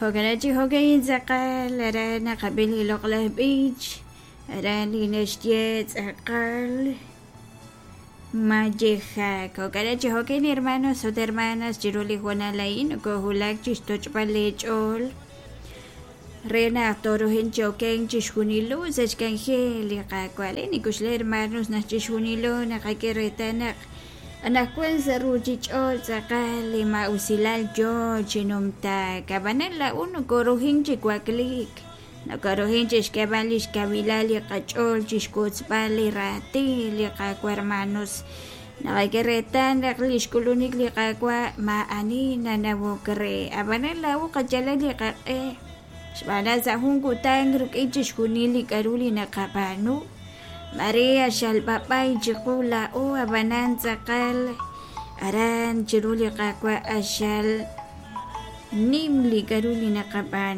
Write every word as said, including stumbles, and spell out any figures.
Jo'kan chi jo'ka'in tz'aqal aran naqab'i li loq'laj b'ich aran li naxye tz'aqal mayejak. Jo'kan chi jo'ka'in hermanos ut hermanas chiru li hoonal a'in nokojulak chixtoch'b'al leech'ool re naq torujin chi okenk chixjunilo sa' xk'anjel li Qaawa'. Le nikuxle hermanos naq chixjunilo naqak'e reetal naq anaqwan sa' ruchich'och' tz'aqal li ma'usilal yoo chi numtaak. Ab'anan laa'u nokorujin chi wakliik, nokorujin chixk'eeb'al lix kawilal li qach'ool chixwotzb'al li raatin li Qaawa' hermanos. Naqak'e reetal naq lix k'ulunik li Qaawa' ma'ani nanawok re. Ab'anan laa'u qayalal li qaq'e xb'aan naq sa' jun kutan rik'in chixjunil li k'a'ru li naqab'aanu Maria xalb'ab'ay chiqu laa'u ab'anan tz'aqal aran chiru li Qaawa' axal nim li k'a'ru li naqab'aanu.